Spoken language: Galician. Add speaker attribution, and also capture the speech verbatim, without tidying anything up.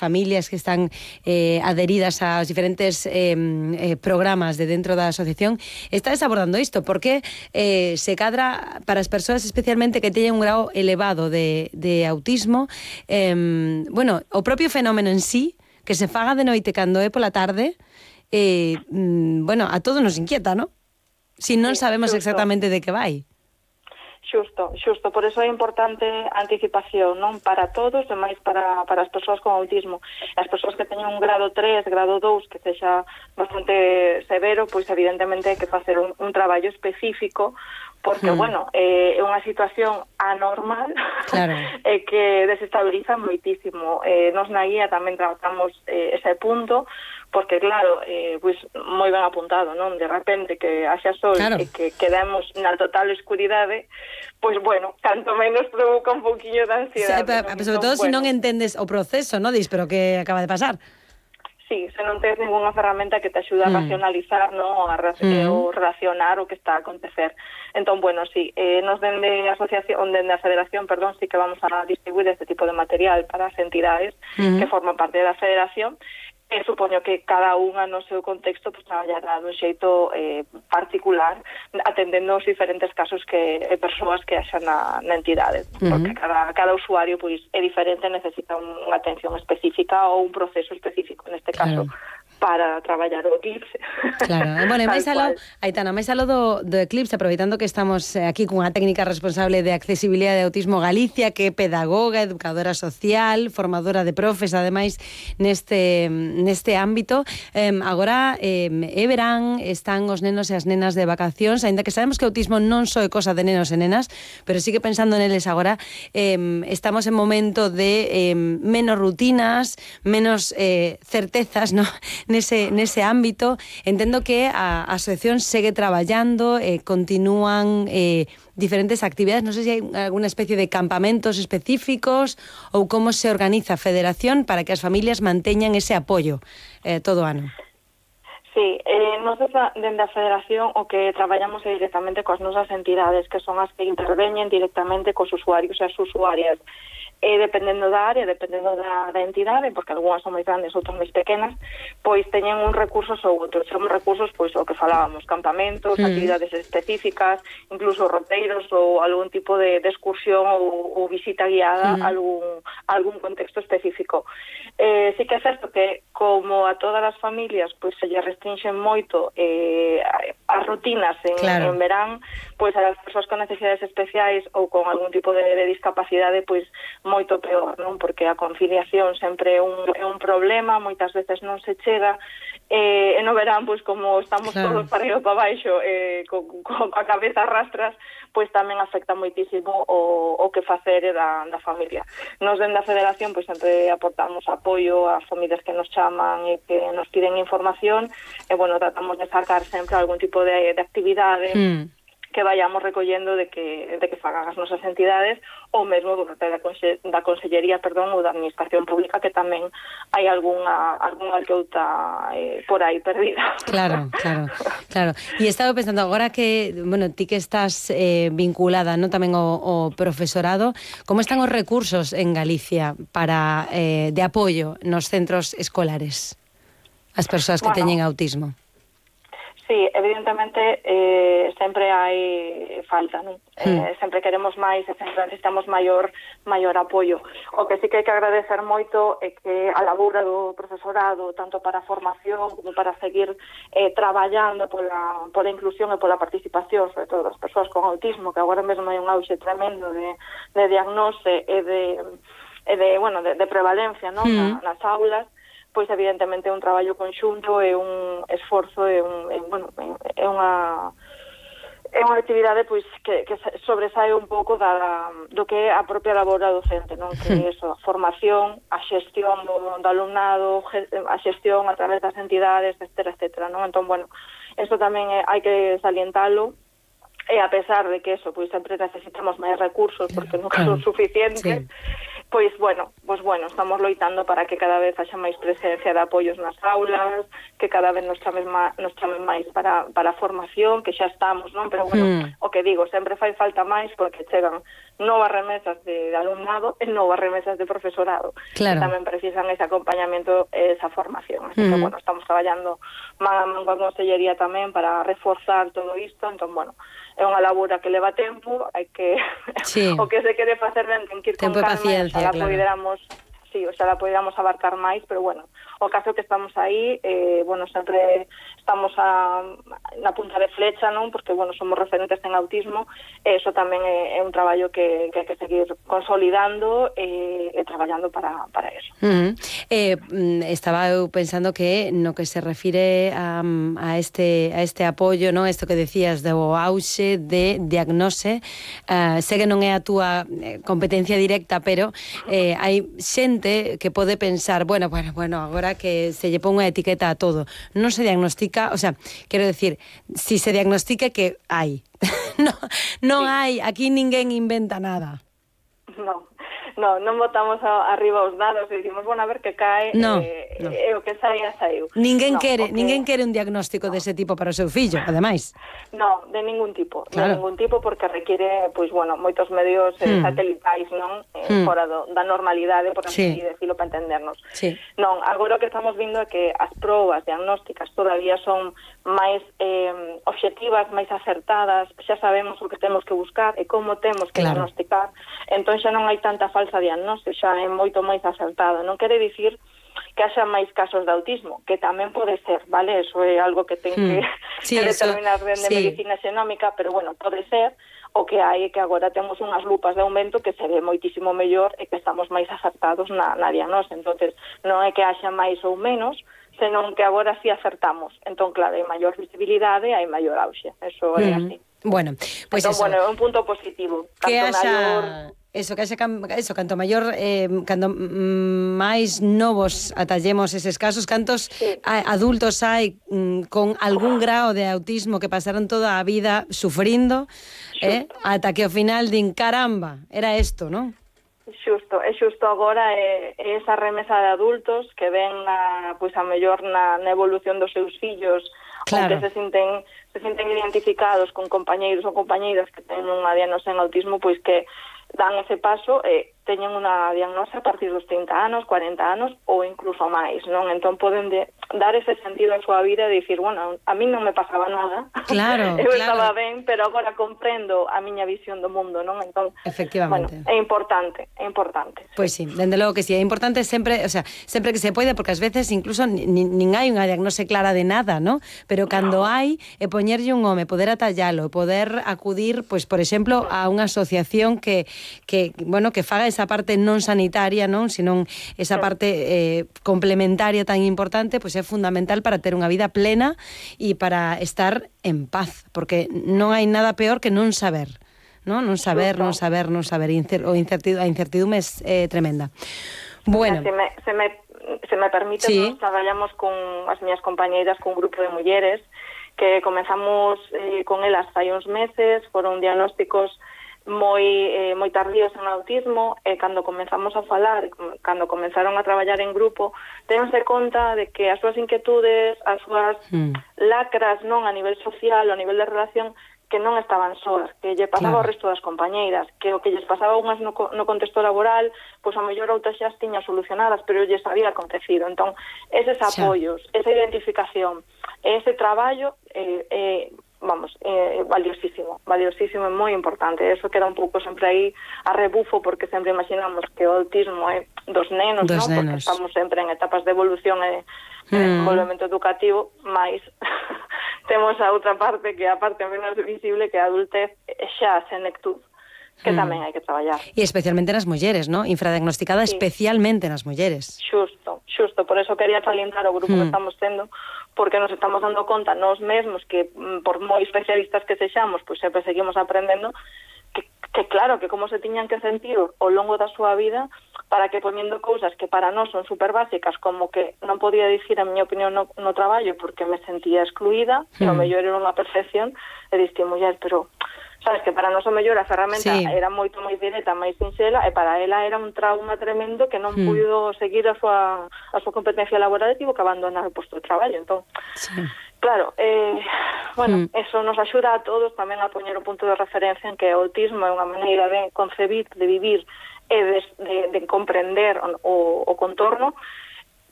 Speaker 1: familias que están eh, adheridas aos diferentes eh, eh, programas de dentro da asociación, estades abordando isto, porque eh, se cadra para as persoas especialmente que teñen un grado elevado de, de autismo, eh, bueno, o propio fenómeno en sí, que se faga de noite cando é pola tarde, eh, bueno, a todos nos inquieta, non? Si non sabemos exactamente de que vai.
Speaker 2: Xusto, xusto, por eso é importante a anticipación, non? Para todos, e máis para, para as persoas con autismo. As persoas que teñen un grado tres, grado dous, que sexa bastante severo, pois evidentemente hai que facer un, un traballo específico, porque, hmm. bueno, é eh, unha situación anormal, claro. e que desestabiliza moitísimo. Eh, nos na guía tamén tratamos eh, ese punto, porque, claro, eh, pois moi ben apuntado, non? De repente que haxa sol claro. e que quedamos na total escuridade, pois, bueno, canto menos provoca un pouquiño de ansiedade.
Speaker 1: Sí, pero, sobre todo, bueno, se non entendes o proceso, non? Dis, pero que acaba de pasar?
Speaker 2: Sí, se non tens ninguna ferramenta que te axude a mm. racionalizar, non? A ra mm. ou relacionar o que está a acontecer. Entón, bueno, sí, eh, nos dende a asociación, dende a federación, perdón, sí que vamos a distribuir este tipo de material para as entidades mm. que forman parte da federación. E supoño que cada unha no seu contexto pues, traballará dun xeito eh, particular, atendendo os diferentes casos que e persoas que haxan na, na entidade, uh-huh. porque cada, cada usuario pues, é diferente, necesita unha atención específica ou un proceso específico, neste caso, claro. para traballar o Eclipse.
Speaker 1: Claro, bueno, e máis aló, Aitana, máis aló do, do Eclipse, aproveitando que estamos aquí cunha técnica responsable de accesibilidade de Autismo Galicia, que é pedagoga, educadora social, formadora de profes, ademais, neste, neste ámbito. Eh, agora, eh, é verán, están os nenos e as nenas de vacacións, aínda que sabemos que o autismo non só é cosa de nenos e nenas, pero sí que pensando neles agora, eh, estamos en momento de eh, menos rutinas, menos eh, certezas, ¿no? Nese, nese ámbito. Entendo que a, a asociación segue traballando, eh, continúan eh, diferentes actividades, non sei se hai alguna especie de campamentos específicos ou como se organiza a federación para que as familias manteñan ese apoio eh, todo o ano.
Speaker 2: Sí, eh, nós dende a federación o que traballamos é directamente coas nosas entidades, que son as que interveñen directamente cos usuarios e as usuarias. E dependendo da área, dependendo da, da entidade, porque algunhas son máis grandes, outras máis pequenas, pois teñen uns recursos ou outros. Son recursos, pois, o que falábamos, campamentos, mm. actividades específicas, incluso roteiros ou algún tipo de, de excursión ou, ou visita guiada mm. a algún, a algún contexto específico. Eh, sí que é certo que, como a todas as familias, pois se lle restringen moito eh, as rutinas en, claro. en verán, pois as persoas con necesidades especiais ou con algún tipo de, de discapacidade, pois moito peor, non? Porque a conciliación sempre é un, é un problema, moitas veces non se chega, e, e no verán, pois como estamos claro. todos para arriba para baixo, eh, con, con a cabeza rastras, pois tamén afecta moitísimo o, o que facer da, da familia. Nos dende a federación, pois sempre aportamos apoio ás familias que nos chaman e que nos piden información, e, bueno, tratamos de sacar sempre algún tipo de, de actividade, mm. que vayamos recollendo de que, de que fagan as nosas entidades, ou mesmo do parte da, conse, da Consellería, perdón, ou da Administración Pública, que tamén hai algunha, algunha alqueuta eh, por aí perdida.
Speaker 1: Claro, claro, claro. E estaba pensando, agora que, bueno, ti que estás eh, vinculada, non, tamén o, o profesorado, como están os recursos en Galicia para eh, de apoio nos centros escolares as persoas que bueno, teñen autismo?
Speaker 2: Sí, evidentemente eh, sempre hai falta, non? Eh, mm. sempre queremos máis e sempre necesitamos maior maior apoio. O que sí que hai que agradecer moito é que a labura do profesorado, tanto para a formación como para seguir eh, traballando pola, pola inclusión e pola participación, sobre todo das persoas con autismo, que agora mesmo hai un auxe tremendo de, de diagnose e de, e de, bueno, de, de prevalencia, non? Mm. Na, nas aulas, pois evidentemente é un traballo conxunto, é un esforzo, é un, é, bueno, é unha é unha actividade pois que, que sobresae un pouco da, do que é a propia labora docente, non? Que é eso, a formación, a xestión do, do alumnado, a xestión a través das entidades, etcétera, etcétera, non? Entón, bueno, eso tamén é, hai que salientalo. E a pesar de que eso, pois sempre necesitamos máis recursos porque nunca son suficientes, sí. Pois, bueno, pois, bueno, estamos loitando para que cada vez haxa máis presencia de apoios nas aulas, que cada vez nos chamen, má, nos chamen máis para, para a formación, que xa estamos, non? Pero, bueno, mm. o que digo, sempre fai falta máis porque chegan novas remesas de alumnado e novas remesas de profesorado,
Speaker 1: claro.
Speaker 2: que tamén precisan ese acompañamiento e esa formación. Así mm. que, bueno, estamos traballando man a man coa Consellería tamén para reforzar todo isto, entón, bueno, é unha labura que leva tempo, hai que sí. o que se quere facer ben ten que ir
Speaker 1: tempo
Speaker 2: con calma,
Speaker 1: paciencia,
Speaker 2: oxalá
Speaker 1: claro.
Speaker 2: poderamos, sí, oxalá poderamos abarcar máis, pero bueno, o caso que estamos aí, eh, bueno, sempre estamos a, na punta de flecha, non? Porque, bueno, somos referentes en autismo, e iso tamén é, é un traballo que, que hai que seguir consolidando e, e traballando para, para eso.
Speaker 1: Uh-huh. eh, estaba eu pensando que no que se refire a, a, este, a este apoio, non? Isto que decías do auxe de diagnose, uh, sei que non é a túa competencia directa, pero eh, hai xente que pode pensar, bueno, bueno, bueno, agora que se lle pon unha etiqueta a todo, non se diagnostica, o sea, quero decir, si se diagnostica que hai. no, non hai, aquí ninguén inventa nada.
Speaker 2: Non. No, non botamos a, arriba os dados e dicimos, bueno, a ver que cae,
Speaker 1: no,
Speaker 2: eh,
Speaker 1: no.
Speaker 2: e o que saia, saiu.
Speaker 1: Ninguén
Speaker 2: no,
Speaker 1: quere,
Speaker 2: que...
Speaker 1: ninguén quere un diagnóstico no. dese tipo para o seu fillo, ademais.
Speaker 2: No, de ningún tipo,
Speaker 1: claro.
Speaker 2: de ningún tipo, porque requiere, pois, bueno, moitos medios eh, hmm. satelitais, non? Eh, hmm. Fora do, da normalidade, por así sí. decirlo, para entendernos.
Speaker 1: Sí.
Speaker 2: Non, agora o que estamos vindo é que as probas diagnósticas todavía son máis eh, obxectivas, máis acertadas, xa sabemos o que temos que buscar e como temos que claro. diagnosticar, entón xa non hai tanta falsa diagnóstica, xa é moito máis acertado. Non quere dicir que haxa máis casos de autismo, que tamén pode ser, vale? Eso é algo que ten que, hmm. sí, que determinar de sí. medicina xenómica, pero bueno, pode ser. O que hai é que agora temos unhas lupas de aumento que se ve moitísimo mellor e que estamos máis acertados na, na diagnose. Entonces, non é que haxa máis ou menos, senón que agora sí acertamos. Entón, claro, hai maior visibilidade, hai maior auxe. Eso é mm. así.
Speaker 1: Bueno, pois pues
Speaker 2: entón, bueno, é un punto positivo.
Speaker 1: Que haxa... Maior... Eso, que haxe, eso, canto maior, eh, canto máis novos atallemos eses casos, cantos sí. adultos hai mm, con algún grao de autismo que pasaron toda a vida sufrindo, eh, ata que ao final din, caramba, era isto, non?
Speaker 2: Xusto, é xusto agora é, é esa remesa de adultos que ven a, pois, a mellor na, na evolución dos seus fillos, claro. ou que se sinten, se sinten identificados con compañeiros ou compañeiras que teñen unha diagnose en autismo, pois que dan ese paso e teñen unha diagnose a partir dos trinta anos, cuarenta anos ou incluso máis, non? Entón poden de, dar ese sentido a súa vida e dicir, bueno, a mí non me pasaba nada,
Speaker 1: claro,
Speaker 2: eu
Speaker 1: claro.
Speaker 2: estaba ben, pero agora comprendo a miña visión do mundo, non? Entón,
Speaker 1: efectivamente.
Speaker 2: Bueno, é importante, é importante.
Speaker 1: Pois sí, dende logo que sí, é importante sempre, o sea, sempre que se pode, porque ás veces incluso nin, nin hai unha diagnose clara de nada, ¿no? Pero cando no. hai, é poñerlle un home, poder atallalo, poder acudir, pois, por exemplo, a unha asociación que que, bueno, que faga esa parte non sanitaria, non, senón esa parte eh, complementaria tan importante, pois é fundamental para ter unha vida plena e para estar en paz, porque non hai nada peor que non saber, non, non saber, non saber, non saber, Incer, o incertidume, a incertidume é eh, tremenda. Bueno,
Speaker 2: se me, se me, se me permite, sí. Nos traballamos con as miñas compañeiras, con un grupo de mulleres que comenzamos eh, con elas hai uns meses, foron diagnósticos moi eh, moi tardíos en autismo, e cando comenzamos a falar, cando comenzaron a traballar en grupo, tense conta de que as súas inquietudes, as súas mm. lacras, non, a nivel social, a nivel de relación, que non estaban soas, que lle pasaba claro. Ao resto das compañeiras, que o que lles pasaba unhas no, no contexto laboral, pois a mellor outras xa as tiña solucionadas, pero lles había acontecido. Entón, eses apoios, xa. Esa identificación, ese traballo, eh, eh, vamos, eh, valiosísimo, valiosísimo, é moi importante. Eso queda un pouco sempre aí a rebufo, porque sempre imaginamos que o autismo é dos nenos,
Speaker 1: dos
Speaker 2: ¿no?
Speaker 1: nenos.
Speaker 2: Porque estamos sempre en etapas de evolución e de mm. desenvolvemento educativo, mais temos a outra parte, que é a parte menos visible, que é a adultez xa senectud, que mm. tamén hai que traballar.
Speaker 1: E especialmente nas mulleres, ¿no? Infradiagnosticada sí. especialmente nas mulleres.
Speaker 2: Xusto, xusto, por eso quería salientar o grupo mm. que estamos tendo, porque nos estamos dando conta nós mesmos que, por moi especialistas que sexamos, pois sempre seguimos aprendendo, que, que claro, que como se tiñan que sentir ao longo da súa vida, para que poniendo cousas que para nós son super básicas, como que non podía dicir a miña opinión no, no traballo porque me sentía excluída, mm. e o mellor era unha percepción, e diste, muller, pero sabes, que para nós o mellor a ferramenta
Speaker 1: sí.
Speaker 2: era moito máis directa, máis sinxela, e para ela era un trauma tremendo que non mm. puido seguir a súa, a súa competencia laboral e tivo que abandonar o posto de traballo. Entón, sí. claro, eh, bueno, mm. eso nos axuda a todos tamén a poñer o punto de referencia en que o autismo é unha maneira de concebir, de vivir e de, de, de comprender o, o contorno,